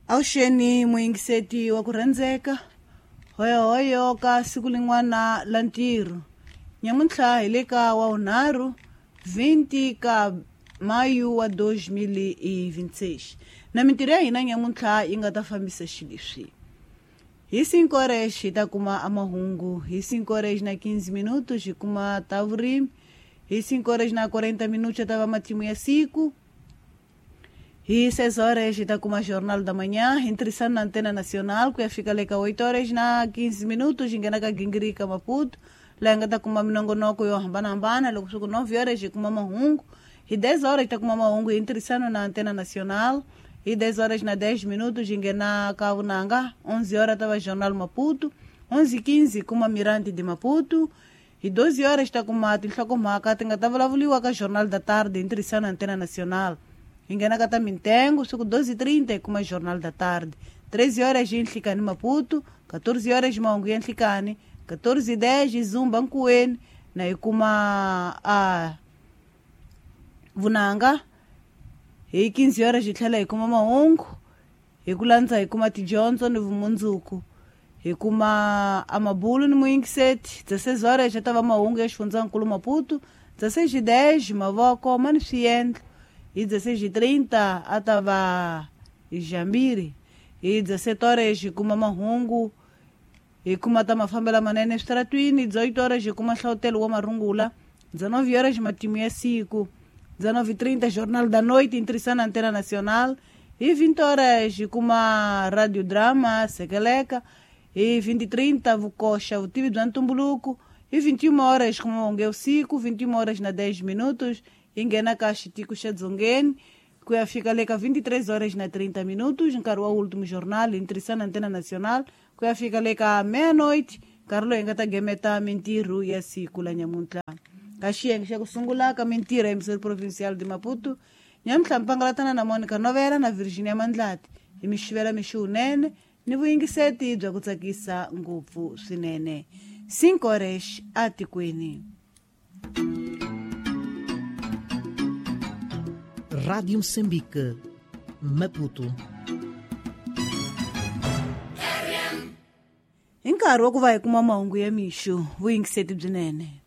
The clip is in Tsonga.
Avuxeni muyingiseti wa ku rhandzeka hoyohoyo ka siku lin'wana la ntirho nyamuntlha hi le ka wa vunharhu 20 ka mayu wa 2026 na mintirho ya hina nyamuntlha yi nga ta fambisa xileswi hi 5 horas hi ta kuma amahungu hi 5 horas na 15 minutos hi kuma ta vurimi hi 5 horas na 40 minutos ta va matimu ya siku hi 6 horas hi ta kuma Jornal da Manhã, hi ntirhisano na Antena Nacional, ku ya fika le ka 8 horas na 15 minutos hi nghena ka Gingirika Maputo, laha hi nga ta kuma minongonoko yo hambanahambana. Loko swi ku 9 horas hi kuma mahungu, hi 10 horas hi ta kuma mahungu hi ntirhisano na Antena Nacional, hi 10 horas na 10 minutos hi nghena ka Vunanga, 11 horas ta va Jornal Maputo, 11:15 hi kuma Mirante de Maputo, hi 12 horas ta kuma tinhlokomhaka ti nga ta vulavuriwa ka Jornal da Tarde hi ntirhisano na Antena Nacional. Hi nghena ka ta mintengo siku 12:30 hi kuma Jornal da Tarde, 13 horas hi Nhlikani Maputo, 14 horas mahungu ya Nhlikani, 14:10 hi Zumba Nkuweni na hi kuma a Vunanga, hi 15 horas hi tlhela hi kuma mahungu, hi ku landza hi kuma tidyondzo ni vumundzuku, hi kuma amabulu ni muyingiseti. 16 horas ya ta va mahungu ya xifundzankulu Maputo, 16:10 mavoko ma ni swiendlo, hi 16:30 a ta va Jambiri, hi 17 horas hi kuma mahungu, hi kuma ta mafambelo manene eswitaratwini, 18 horas hi kuma hlavutelo wa marungula, 19 horas matimu ya siku, 19:30 Jornal da Noite ntirhisano na Antena Nacional, hi 20 horas hi kuma Radio Drama Sekeleka, hi 20:30 Vukoxa vutivi bya ntumbuluko, hi 21 horas kuma mahungu ya vusiku, 21 horas na 10 minutos hi nghena ka xitiko xa Dzongeni ku ya fika le ka 23 horas na 30 minutos, nkarhi wa Último Jornal hi ntirhisano na Antena Nacional ku ya fika le ka meia-noite, nkarhi lowu hi nga ta gemeta mintirho ya siku la nyamuntlha. Ka xiyenge xa ku sungula ka mintirho ya Emissário Provincial de Maputo, nyamuntlha mpangalatana na Monica Novela na Virginia Mandlati hi mixivela mixi wunene ni vuyingiseti bya ku tsakisa ngopfu swinene. 5 horas atikweni. Rádio Moçambique, Maputo. Hi nkarhi wa ku va hi kuma mahungu ya mixo, vuyingiseti byinene.